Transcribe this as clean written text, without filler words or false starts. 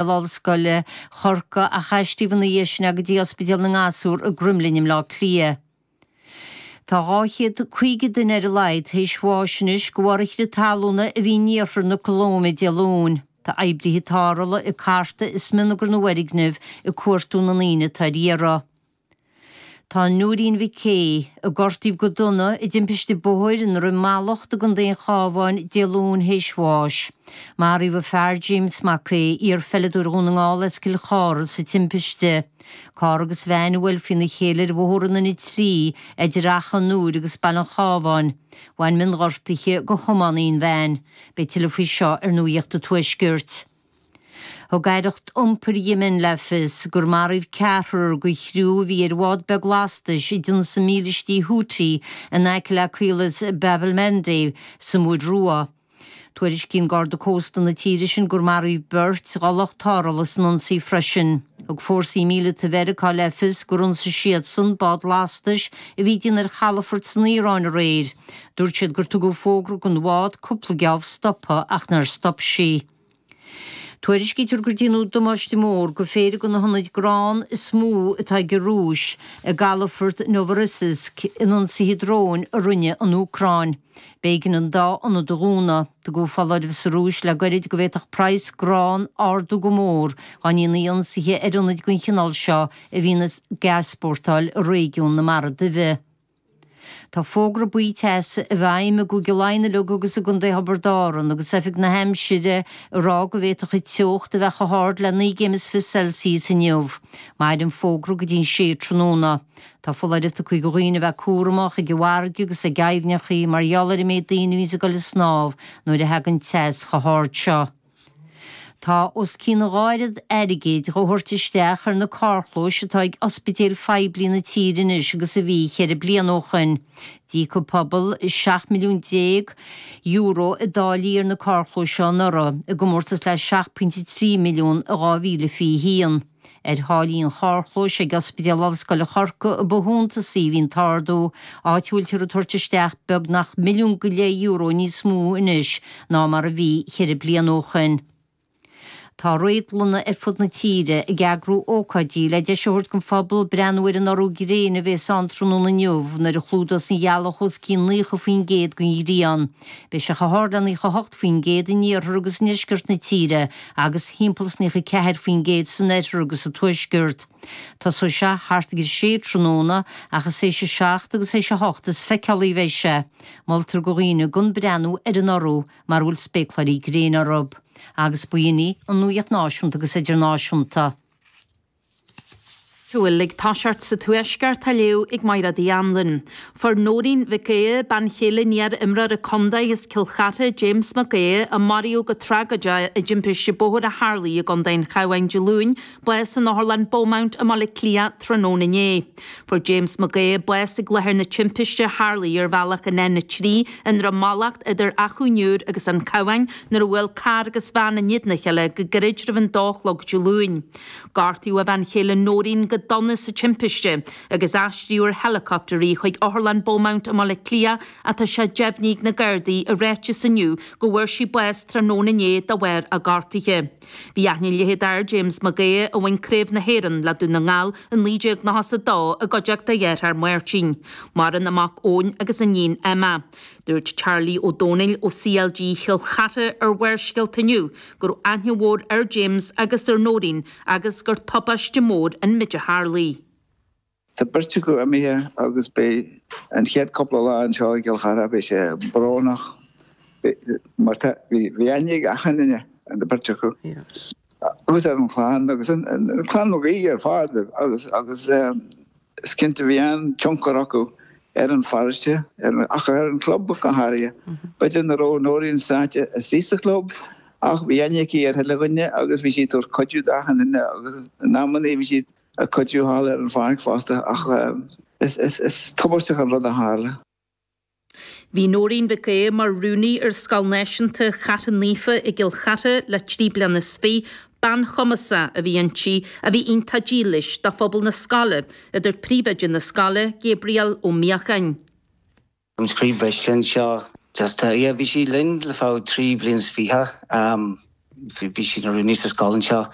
Ollscoile Chorcaí ach aistríodh ina dhiaidh sin é go dtí Ospidéal na nGasúr i gCromghlinn i mBleá Cliath. Tá 250 duine ar a laghad théis bháis anois de bharr an chrith talúna a bhí in iarthar na Colóime Dé Luain. Tá oibrithe tarrthála ag cartadh i smionagar na bhfoirgneamh ag cuartú na ndaoine atá ar iarraidh. Tá Nóirín Mhic Aodha, a gortaíodh go dona i dtimpiste bóthair i nDroim Mallacht i gContae an Chabháin Dé Luain théis bháis. Maraíodh a fear James Mac Aodha, iar-pheileadóir Dhún na nGall as Cill Chartha, sa timpiste. Carr agus veain a bhuail faoina chéile ar bhóthar an N3 idir Achadh an Iúir agus Baile an Chabháin. Bhain mionghortuithe go thiománaí an veain. Beidh tuilleadh faoi seo ar Nuacht an Tuaiscirt. Thug Aireacht Iompair Yemen le fios gur maraíodh ceathrar de chriú a bhí ar bhád beag lastais a d'ionsaigh mílístí Houthi in aice le caolas Bab el-Mandeb sa Mhuir Rua. Tuairiscíonn Garda Cósta na tíre sin gur maraíodh beirt de lucht tarrthála san ionsaí freisin. Thug fórsaí míleata Mheiriceá le fios gur ionsaigh siadsan bád lastais a bhí ag déanamh ar chalafort san Iaráin aréir. Dúirt siad gur tugadh fógra don bhád cúpla geábh stopadh ach nár stop sí. Tuairiscítear gur déanadh damáiste mór go phéire de na hionaid grán is mó atá ag an Rúis i gcalafort Novorossiysk in ionsaithe dróin a rinne an Úcráin. B'éigean an dá ionad a dhúnadh. Tugadh foláireamh sa Rúis le goirid go bhféadfadh praghas grán ardú go mór dá ndéanfaí ionsaithe ar ionaid den chineál seo a bhíonn ag easpórtáil i réigiún na Mara Duibhe. Tá fógra buí teasa i bhfeidhm i gCúige Laighean uilig agus i gContae Thiobraid Árann agus Oifig na hAimsire ag rá go bhféadfadh an teocht a bheith chomh hard le 9 gcéim is 20 Celsius inniu. Mairfidh an fógra go dtí an 6 tráthnóna. Tá foláireamh tugtha do dhaoine a bheith cúramach ag an bhfarraige agus ag aibhneacha mar gheall ar an méid daoine a bhíonns ag dul ag snámh nuair a thagann teas chomh hard seo. Tá os cionn a dhá oiread airgid dhá thabhairt isteach ar na carrchlóis atá ag ospidéil phoiblí na tíre anois agus a bhí cheithre bliana ó shoin. D'íoc an pobal €17 milliún i dtáillí ar na carrchlóis seo anuraidh, i gcomórtas le 7.3 milliún i 2021. Ar tháillí an charrchlóis ag Ospidéal Ollscoile Chorcaí a ba shuntasaí a bhí an t-ardú, áit a bhfuiltear ag tabhairt isteach beagnach €1.5 milliún níos mó anois ná mar a bhí cheithre bliana ó shoin. Tá réadlanna ar fud na tíre ag eagrú ócáidí le deis a thabhairt don phobal breathnú ar an urú gréine a bhéas ann tráthnóna inniu nuair a chlúdós an ghealach os cionn 90% den ghrian. Beidh sé chomh hard le 98% in iarthar agus i ndeisceart na tíre agus thimpeall is 94% san oirthear agus sa tuaisceart. Tosóidh sé thart ag a sé tráthnóna ach is théis a 7 agus théis a 8 is feiceálaí a bheidh sé. Moltar do dhaoine gan breathnú ar an urú mara bhfuil spéacláirí gréine orthu. Agus b'in í an nuaíocht náisiúnta agus idirnáisiúnta. Bhfuil ag toiseacht sa Tuaisceart á léamh ag Mairéad Uí Anluain. Fuair Nóirín Mhic Aodha, bean chéile an iar-imreora contae as Cill Chartha, James Mac Aodha, a maraíodh go tragóideach i dtimpiste bóthair a tharlaigh i gContae an Chabháin Dé Luain, bás in Otharlann Beaumont i mBaile Átha Cliath tráthnóna inné. Fuair James Mac Aodha bás ag láthair na timpiste a tharlaigh ar bhealach an N3 i nDroim Mallacht idir Achadh an Iúir agus an Cabhán nuair a bhuail carr agus veain i ndiaidh a chéile go gairid roimh an dó a chlog Dé Luain. Gortaíodh a bhean chéile Nóirín go dona sa timpiste agus aistríodh ar heileacoptar í chuig Otharlann Beaumont i mBaile Átha Cliath ach tá sé deimhnithe ag na Gardaí i ráiteas inniu go bhfuair sí bás tráthnóna inné de bharr a gortuithe. Bhí aithne leithead ar James Mag Aodha a bhain Craobh na hÉireann le Dún na nGall i 1992 i gcuideachta a dhearthár Máirtín. Maireann a mac Eoin agus a iníon Emma. Dúirt Charlie Ó Domhnaill ó CLG Chill Chartha ar Bharrscéalta inniu go raibh aithne mhór ar James agus ar Nóirín agus gur tubaiste mór an méid a tharlaigh. Tá beirt acu imithe agus beidh an chéad cúpla lá anseo i gCill Chartha, beidh sé brónach mar tá, bhí aithne ag achan duine ar na beirt acu agus ar an chlann agus an clann Mag Aoidh ar fad agus agus is cinnte bhí an-tionchar acu ar an pharóiste, ach ar an chlub go háirithe. B'fhéidir nach raibh Nóirín sáite istigh sa chlub ach bhí aithne aici ar chuile dhuine agus bhí sí ag tabhairt cuidiú d'achan duine agus in amannaí bhí sí ag cuidiú thall ar an pháirc fosta ach is tubaisteach an rud a tharla. Bhí Nóirín Mhic Aodha mar rúnaí ar Scoil Náisiúnta Chartha Naofa i gCill Chartha le trí bliana is fiche. Bean chumasach a bhí inti a bhí iontach dílis do phobal na scoile, a dúirt príomhoide na scoile, Gabriel Ó Míocháin. An croí briste anseo. Just yeah bhí sí linn le feadh 23 bliain. Bhí sí ina rúnaí sa scoil anseo.